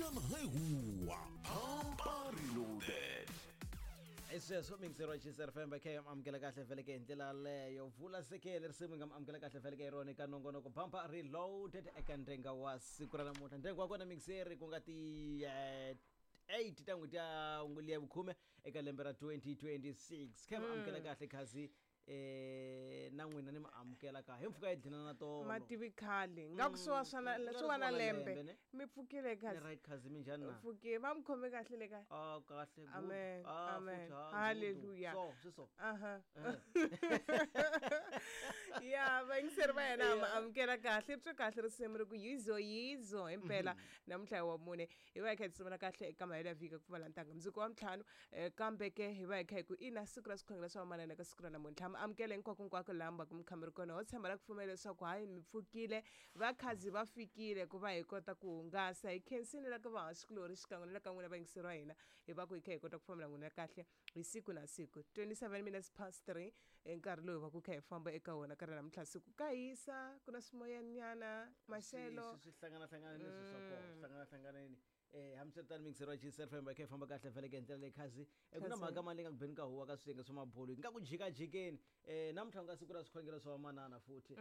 Mpinjana hi huwa Pampa Reloaded. Hi sweswo mixero wa Chiefs FM va kha amukela kahle vheleke hi ndlela yaleyo vula sekele risimu nga amukela kahle vheleke hi rona eka nongonoko Bumper Reloaded eka ndhenga wa siku ra namuntlha ndhenga wa kona mixeri ku nga ti 8 ta n'hweti ya ya vukhume eka lembe ra 2026 kha mi amukela kahle khazi na n'wina ni mi amukela ka hi mpfhuka yi dlina na tolo mativi khale nga ku swi swa swi wa na lembe ne? Mi pfukile Ni kahle right khazi minjhani na pfukile va mi khome kahle le kaya Ah, kahle good. Amen, Ah, amen. futhi, ah, good. Hallelujah. So swi so aha ya vayingiseri va yena ma amukela kahle ri twe kahle risimu ri ku yizo yizo himpela namuntlha hi wa mune hi va hi kha hi tisumela kahle eka mahelo ya vhiki ku pfumala ntanga mundzuku wa ntlhanu kambe ke hi va hi kha hi ku ina siku ra swikhongelo swa vamanana ka siku ra namuntlha mi amukela hinkwako hinkwako laha mi va ku mi kha mi ri kona ho tshemba ra ku pfumela leswaku hayi mi pfukile vakhazi va fikile ku va hi kota ku hungasa hi khensini la ka vahaxikulori xikan'we na le ka n'wina vayingiseri wa hina hi va ku hi kha hi kota ku fambela n'wina kahle hi siku na siku 27 minutes past 3 hi nkarhi lowu hi va ku kha hi famba eka wona ka ri namuntlha siku ka hisa ku na swimoyanyana maxelo swi hlangana-hlanganeni leswi swa kona swi hlangana-hlanganeni hambiswiritano mixero wa Chiefs FM va kha hi famba kahle vheleke hi ndlela leyi khazi ku na Khazi. mhaka mali nga ku beni ka huwa ka swiyenge swa mabulu nga ku jikajikeni namuntlha ku nga siku ra swikhongelo swa vamanana futhi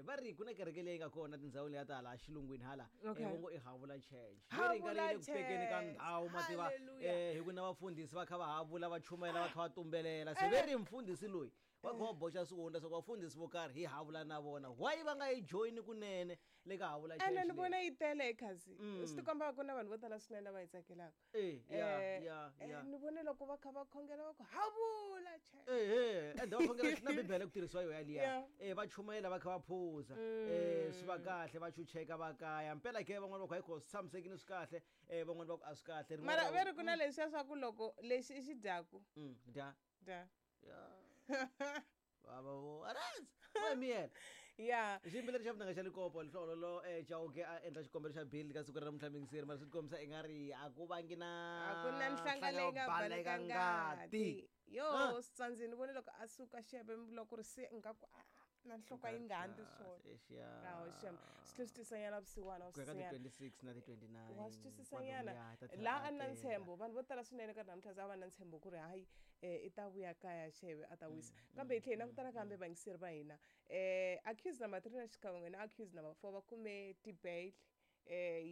va ri ku na kereke leyi nga kona tindhawu leya ta hala xilungwini hala Okay. Vo ngo i havula church Ve ri nga ri yi le ku tekeni ka Havula ndhawu mativa Hallelujah. hi ku na vafundhisi va kha va havula va chumayela va kha va tumbelela se ve ri mfundhisi loyi va kha va boxa swihundla swa ku vafundhisi vo karhi hi havula na vona why va nga yi joyini kunene le ka havula ene church ni leyi? vona yi tele ekhazi swi tikomba ku na vanhu vo tala swinene lava yi tsakelaka Eh, ya, ya, ya. Ni vone loko va kha va khongela va ku havula church ehe ende va khongela na bibele ku tirhisiwa yo yaliya Yeah. va chumayela va kha va phuza swi va kahle va chucheka va kaya mpela ke van'wana va ku hayi ko swi tshamisekile swi kahle van'wana va ku a swi kahle Rin'wana mara ra- ve ri ku na leswiya swa ku loko lexi i xi dyaku Dya dya ya va vo aras va miyela ya xiyimbeleri xa vunanga xa likopo lihlololo chauke a endla xikombelo xa bill ka siku ra namuntlha mingiseri mara swi tikombisa i nga ri a ku vangi na a ku na nhlanga leyi nga baleka ngati yo Ah. swi ni vone loko a suka xebe loko ri se nga ku ah, na nhloko a yi nga handzi swona awo xem swi tlhe swi twisanyana vusiwana wa ku ya ka swi ti 26 na ti 29 wa swi twisisanyana kwalomuya, ta tlhela laha a a ni na teka. ntshembo vanhu vo tala swinene ka namuntlha za va na ntshembo ku ri hayi i ta vuya kaya xeve a ta wisa kambe hi tlhe hi langutana kambe vayingiseri va hina accused number 3 na xikan'we na accused number 4 va kume ti-bail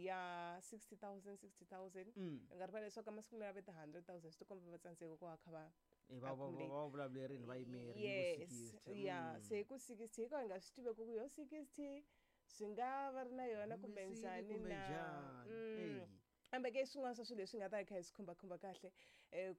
ya 60 000 60 000 hi nga rivali leswaku emasikwini lawa ve ti 100 000 swi tikomba va tsandzeka ku va kha va Eh, va accumulate. va vulavulerini va yimeri Yes ya se hi ku 60 hi ka hi nga swi tiveki ku yo 60 swi nga va ri na yona kumbe Humesile njhani kumbe na njhani. Eyi. Kambe ke swin'wana swa swilo leswi nga ta hi kha hi swi khumbakhumba kahle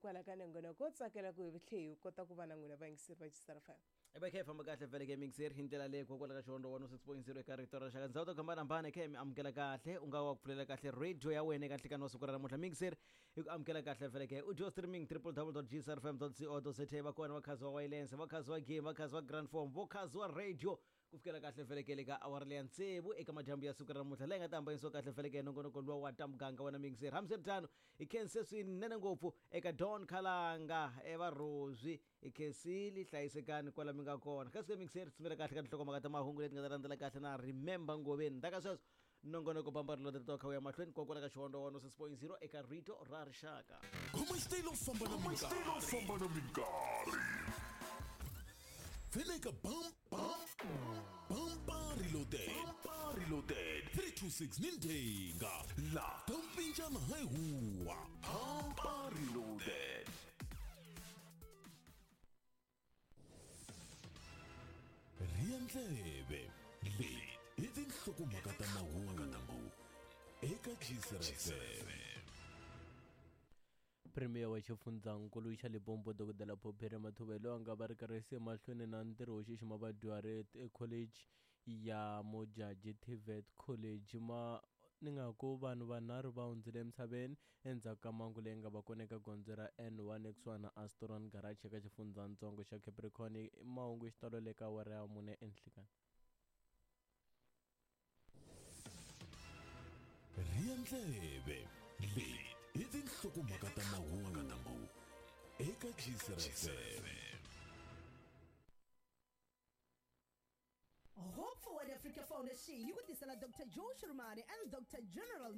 kwala ka nongonoko wo tsakela ku hi tlhe hi kota ku va na n'wina vayingiseri va Gisela FM I va kha hi famba kahle vhele ke mixer hi ndlela leyi kokwala ka xihondo 106.0 eka rito ra rixaka ndhawu to hambanahambana kha hi mi amukela kahle u nga wa ku pfulela kahle radio ya wena eka nhlikani wa siku ra namuntlha mixer hi ku amukela kahle vhele ke audio streaming www.gsrfm.co.za va kona vakhazi wa wireless vakhazi wa game vakhazi wa grand form vokhazi wa radio ku fikela kahle vhele le ka awara leya tsevu eka madyambu ya siku ra namuntlha leyi nga ta hambanyisiwa kahle vhele ke nongonoko luwa wa ta muganga wena mixer hambiswiritano hi khense swinene ngopfu eka don khalanga evarhozwi hi khensile hlayisekani kwala mi nga kona kasi ke mixer tshimela kahle ka tinhlokomhaka ta mahungu leti nga ta landzela kahle na remember ngoveni ndaka sweswo nongonoko bambari loti to kha u ya mahlweni kokwala ka xihondo 106.0 eka rito ra rixaka Khoma xitayele u famba na minkarhi. Famba na minkarhi. Vele ka bam bam Bumper Reloaded. Pampa Reloaded. 326 Nintenga la Tampinjana hi huwa Pampa Reloaded. Rhiya ndleve leyi i tinhlokomhaka ta mahungu eka GCRFM. Premier wa xifundzankulu xa Limpopo Dokodela Phophi Ramathuba loyi a nga va ri karhi se mahlweni na ntirho wo xixima vadyuhari ekholeji ya Modjadji TVET College ma ni nga ku vanhu vanharhu va hundzile emisaveni endzhaku ka mhangu leyi nga va kona eka gondzo ra N1 ekusuhani na Astron Garage eka xifundzatsongo xa Capricorn mahungu hi xitalo le ka awara ya mune enhlikani. Rhiya ndleve leyi i tinhlokomhaka ta mahungu eka GCRFM. Hope Forward Africa Foundation yi ku tisela Dr. Joe Shirmani and Dr. General